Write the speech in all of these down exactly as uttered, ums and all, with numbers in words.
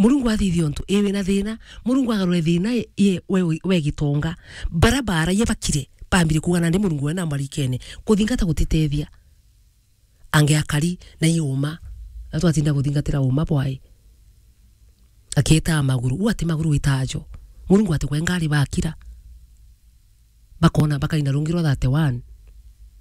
Murungu athithia untu, ii wina thina, Murungu agarure thina ye, ye, we, we gitonga. Bara bara ye bakire, bambire kuuga nandi Murungu we na marikene. Kuthingata gutitethia. Angi akari na iuma. Na twatinda kuthingatira uma bwae. Akiitaa maguru. Uu ati maguru witaajo. Murungu ati kwe ngari bakira. Bakona, bakaina rungi rwa thirty-one.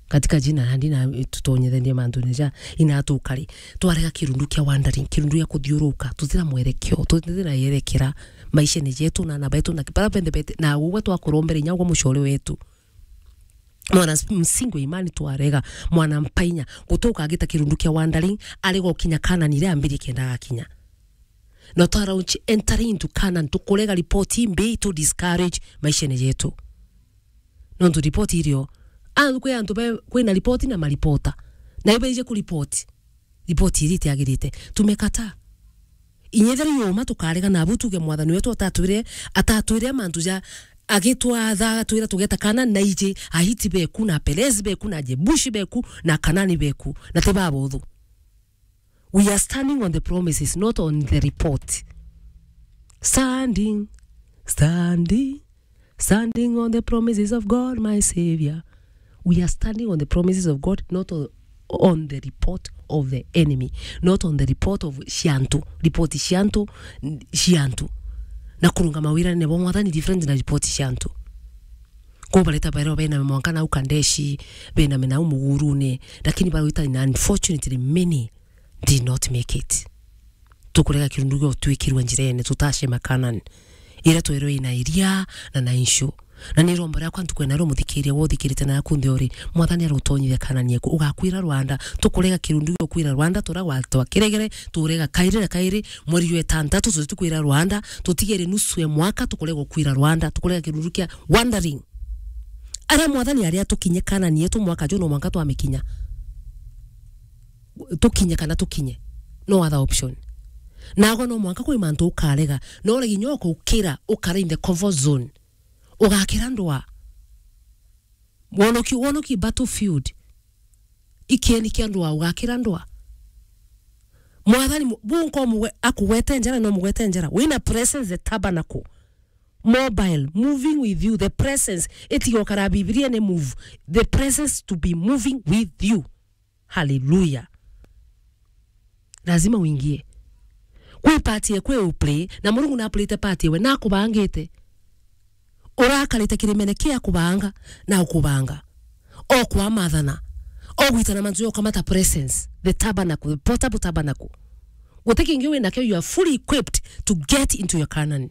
Katika jina nandi na tutonyethenie mantune ja ina tukari. Twarega kirundu kia wandering, kirundu gia kuthiuruka, tutira mwerekeo, tutira yerekera maishene jetu na ana betu na bara benthe bete, na ugwe twakurombere inya ugwe mucore wetu. Mwana s-, msingi wa imani twarega, mwana mpainya, guti ukagita kirundu kia wandering, arega ukinya Kanani iria ambirie kenda agakinya. Na twara uchi entering into Canaan, tukurega ripoti imbi itu discourage maishene jetu. Nontu ripoti irio, a, kwi antu be, kwina ripoti na maripota. Na ibeije kuripoti. Ripoti iri itiagirite. Tumekataa. Inya ethira iuma tukarega nabu tuge mwathani wetu atatwire, atatwire mantu ja agitwatha, agatwira tugeta Kanani na iji, Ahiti beku, na Perezi beku, na Jebushi beku, na Kanani beku, na ti babuthu. We are standing on the promises, not on the report. Standing, standing, standing on the promises of God, my Savior. We are standing on the promises of God, not on, on the report of the enemy, not on the report of ciantu. Report ciantu, ciantu. Na kurungama wirane bwa mwathani different na report ciantu. Ko bareta bairwa bena mwanka nau Kandeshi, bena menau mugurune, lakini barwita, na unfortunately many did not make it. Tukurega kirundu gio twikirwa njirene, tutacema Canaan. Ira twerwe ina iria na na inshu. Na ni rombo riakwa ntuku ena rio muthikiria, wothikirite na yaku nthi ori, mwathani arutonyithia Canaan yeku, ugakwira Rwanda, tukurega kirundu gio kwira Rwanda, tura gwa twa kiregere, turega kairi na kairi, mweri jwa itantatu, tuti kwira Rwanda, tutigere nusu ya mwaka, tukurega kwira Rwanda, tukurega kirundu kia wandering. Aria mwathani aria tukinye Canaan yetu mwaka juu no mwanka twamikinya. Tukinye kana tukinye. No other option. Nago no mwanka kwi mantu ukarega. No uregi nyo ukukira, ukara in the comfort zone. Ugakira ndwa. Wonoki, wonoki battlefield. Ikieni kia ndwa, ugakira ndwa. Mwathani mu-, bunko mugwe-, akugwete njara, no mugwete njara. Wina presence the tabernacle. Mobile, moving with you, the presence. Itiga ukara Bibilia ni move. The presence to be moving with you. Hallelujah. Lazima uingie. Kwi part ye kwi uplay, na Murungu na play te part yewe, na akubangite. Urakarite kirimene kia kubanga, na ukubanga. O kwa mathana. O gwitana mantu ya ukamata presence. The tabernacle, the portable tabernacle. Guti kingi wina kio, you are fully equipped to get into your Canaan.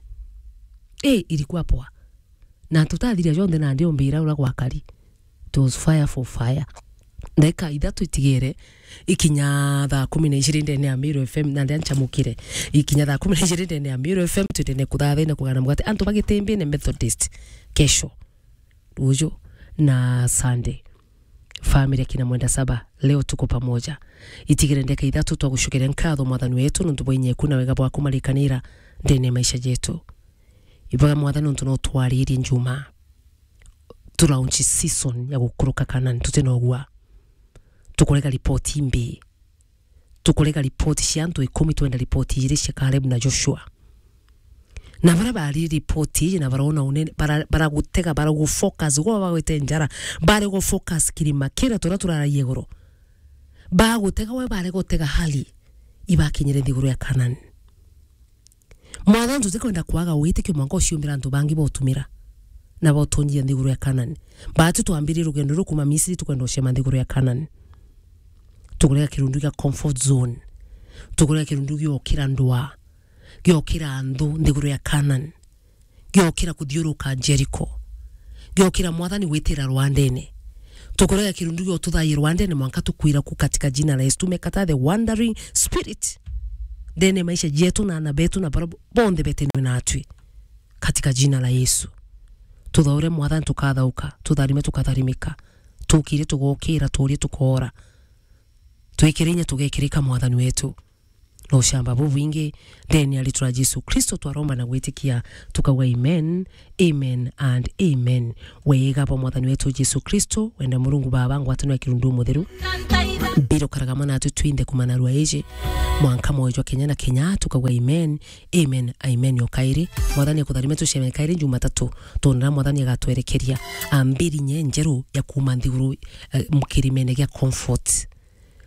Eh, ilikuwa poa. Na tutathiria jonthe nandi ombira ura gwakari. It was fire for fire. Ndagika ithatu itigere, ikinya thaa kumi na ijiri ndene ya Meru F M, na ndia nchamukire. Ikinya thaa kumi na ijiri ndene ya Meru F M, twendene kuthathaina kugana mugate. Antu bagitimbine Methodist, kesho. Ruju na Sunday. Family akina Mwenda Saba, leo tuko pamoja. Itigere ndeka ithatu twa gucokeria nkatho mwathani wetu nontu bwa inyeku na wega bwaku marikanira ndene ya maisha jetu. Ibaga mwathani nontu no twaririe njuma. Tu launch season ya gukuruka Canaan, tuti na ugwa. Tukurega ripoti imbi. Tukurega ripoti cia antu ikumi, twenda ripoti ijiri cia Caleb na Joshua. Na bara bari ripoti iji na barona unene, bara-, baragutega, baragufocus, gwa bagwete njara, bari gufocus kirima kira turia turaragia iguru. Bagutega we, bari gutega hali, ibakinyire nthiguru ya Canaan. Mwathani, tutikwenda kwaga witikio mwanka uciumbira antu bangi botumira na botunjia nthiguru ya Canaan. Batu twambirie rugendo ruru kuma Misri, tukwenda ucema nthiguru ya Canaan. Tukurega kirundu gia comfort zone. Tukurega kirundu giokira ndwa. Giokira anthu nthiguru ya Canaan. Giokira kuthiuruka Jericho. Giokira mwathani gwitira rwandene. Tukurega kirundu gio tuthaie rwandene mwanka tukwira ku katika jina la Yesu. Tumekataa the wandering spirit. Ndene maisha jetu na ana betu na bara bonthe betenwe natwi. Katika jina la Yesu. Tuthaure mwathani tukathauka. Tutharime tukatharimika. Tukire tugokira, turie tukoora. Twikire inya tugekirika mwathani wetu. na ucamba bubwingi. Ndene ya ritwa ria Jesu Kristo twaromba na gwitikia, tukauga amen, amen and amen. Wega bwa Mwathani wetu Jesu Kristo, wenda Murungu Baba, ngwataniro ya Kirundu Mutheru, mbiro karagama natu twinthe kumanarua iji, mwanka mwoyo jwa kenya na kenya, tukauga amen, amen, amen. O kairi, Mwathani akutharime tuceme kairi Jumatatu, tondu na Mwathani agatwerekeria ambiri nye njeru ya kuuma nthiguru, eh, kirimene gia comfort.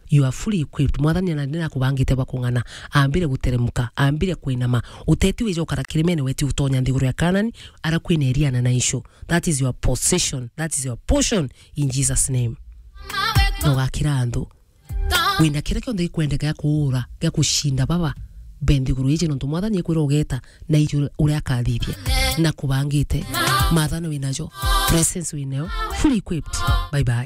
You are fully equipped. Mwathani na ndina kubangite bwa kung'ana. Ambire guteremuka, ambire kwinama. Uteti wija ukara kirimene, weti utonya nthiguru ya Kanani, ara kwina iriana na icio. That is your possession. That is your portion in Jesus' name. Na ugakira antu. Wina kira kionthe gikwendeka gia kuura, gia kucinda baba, be nthiguru iji, nontu Mwathani ekwira ugeta, na iji uria akathithia, na kubangite. Mathana winajo, presence winayo, fully equipped. Bye bye.